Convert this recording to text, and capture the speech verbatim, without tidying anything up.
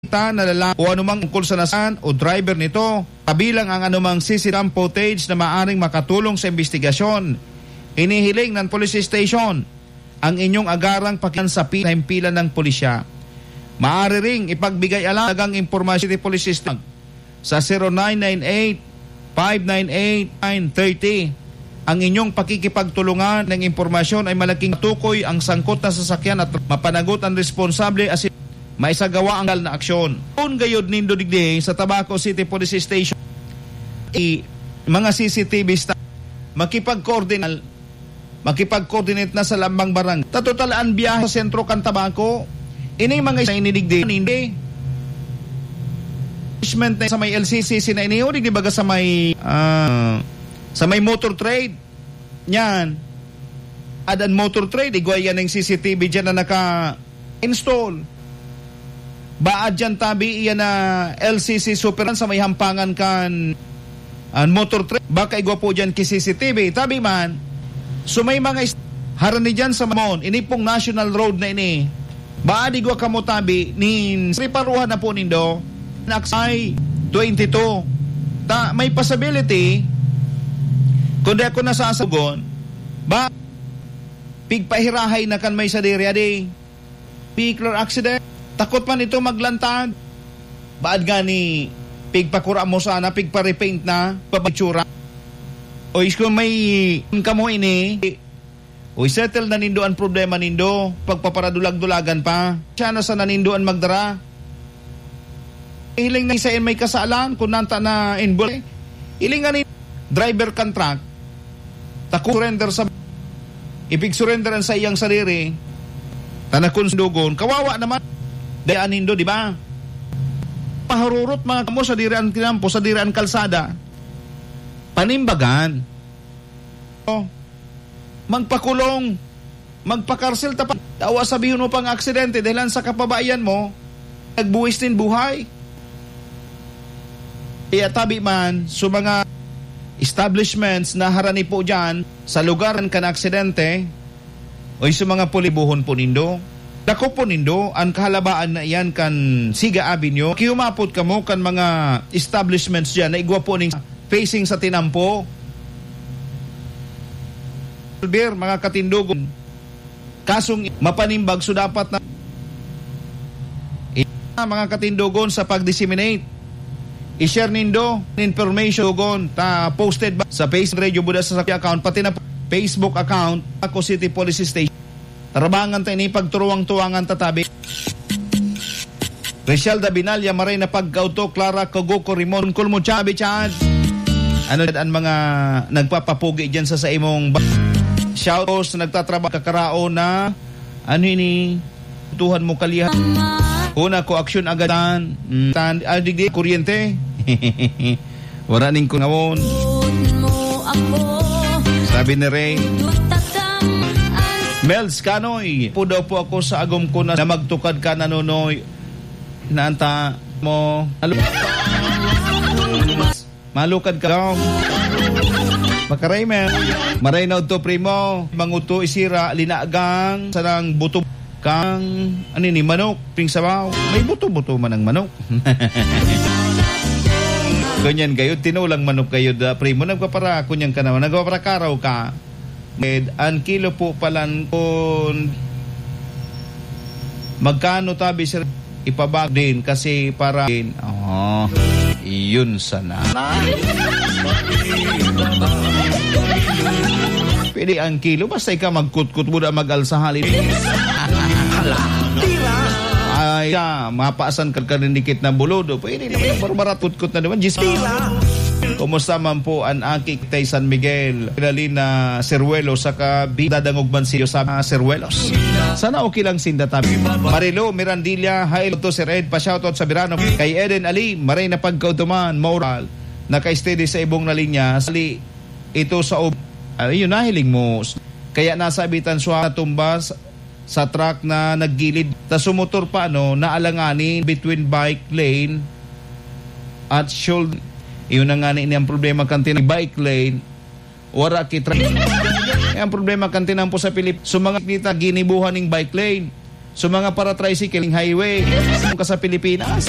ta na lalaki o anumang tungkol sa nasaan o driver nito, kabilang ang anumang C C cam footage na maaring makatulong sa imbestigasyon. Inihiling ng police station ang inyong agarang pakian sa pi-, himpilan ng pulisya. Maaari ring ipagbigay alang impormasyon sa police station sa zero nine nine eight, five nine eight, nine thirty. Ang inyong pakikipagtulungan ng impormasyon ay malaking tukoy ang sangkot na sasakyan at mapanagot ang responsable asin maisagawa ang legal na aksyon. Kung gayod nindo digdi sa Tabaco City Police Station, i-, mga C C T V sta-, makipag-coordinate, makipag-coordinate na sa lambang barangay. Sa total, ang biyahe sa sentro kan Tabaco, ini mga isa inidigdi, hindi. Punishment na sa may L C C C na ini, o digdi baga sa may, ah, sa may motor trade. Yan. Adan motor trade, igwa yan ng C C T V dyan na naka-install. Baad dyan tabi iyan na L C C Superman sa may hampangan kan an motor trade. Baka igwa po dyan ki C C T V. Tabi man, so may mga is-, harani dyan sa Mamon, ini pong national road na ini. Baad igwa kamo tabi, nin riparuhan na po nindo, naksay twenty-two. Ta, may possibility, kung di ako nasasagon, ba, pigpahirahay na kan may sadiri, adi, vehicular accident. Takot man ito maglantad. Baad gani, pigpakura mo sana, pigpa-repaint na, pabitsura. O is kung may, kamo ini, o isettle na nindo an problema nindo, pagpaparadulag-dulagan pa. Siya na sana nindo an magdara. Hiling na isa may kasalan, kung nanta na involved. Hiling nga ni driver kan truck, ta kung surrender sa, ipig-surrender an sa iyang sadiri, ta na kung sundugon, kawawa naman. Dayaan nindo, di ba? Pahururot mga kamo sadiri an tinampo, sadiri an kalsada. Panimbagan. Oh. Magpakulong, magpakarsel ta pa. Awa sabihon mo pang aksidente dahilan sa kapabayan mo, nagbuwis nin buhay. Kaya tabi man, so mga establishments na harani po dyan, sa lugar kan aksidente, o sa mga pulibuhon po nindo, dako po nindo, an kahalabaan na iyan kan Siga Avenue, kiyumapot kamo kan mga establishments dyan na igwa po ning facing sa tinampo. Albert, mga katindogon, kasong mapanimbag, so dapat na, mga katindogon, sa pag-disseminate, i-share nindo an information, gon, ta posted ba sa Facebook Radio Buda sa account, pati na Facebook account, Ako City Police Station. Tarabangan ta ini, pagturuwang-tuwangan ta tabi. Rachel Dabinalya, maray na pagkauto, Clara Kogo Corimon, Kulmo Chabi Chan. Ano an mga nagpapapugi dyan sa, sa imong ba-, shout out sa nagtatrabaho, kakaraon na, ano ini, tuhan mo kalihan. Una ko, aksyon agadan. Mm, tan-, ah, digdi, kuryente. Wala ning kungawon. Sabi ni Ray. Mels Kanoy, po daw po ako sa agom ko na, na magtukad ka, nanonoy. Naanta mo. Alo-, malukad ka daw. Makaray, men. Maray na udto, primo. Manguto, isira, linagang, sanang buto kang, ano ni, manok, ping sabaw. May buto-buto man ang manok. Kunyan gayod, tinulang manok gayod, ah, primo. Nagpapara, kunyan ka naman. Nagpaparakaraw ka. An kilo po palan kun magkano tabi, sir? Ipabag din kasi para din. Oh, iyon sana. Pwede ang kilo, basta ikaw magkutkot mo na mag-alsa halin. Hala, tira! Ay, ka, mapaasan ka, ka rin dikit na bulod. O, pwede naman, pero marat kutkot na naman. Diyos. Tira! Kumusta man po ang aki tay San Miguel? Pinalina Seruelo, saka bi-, dadangog man siyo sa mga Seruelos. Sana okay lang sinda tabi. Marilo Mirandilla, hi to Sir Ed, pa-shoutout sa Birano. Kay Eden Ali, maray na pagkautuman, moral. Naka-steady sa ibong na linya. Sali ito sa ob-, ah, yun, nahiling mo. Kaya nasabitan siya natumba sa, sa truck na naggilid. Tas sumotor pa, ano, naalanganin between bike lane at shoulder. Yun na nga ni, ni ang problema kan tinang bike lane. Wara ki tra-, eh, ang problema kan tinampo sa Pilip-, so mga nita ginibuhan ning bike lane. So, mga para-tricycle, highway, ka sa Pilipinas.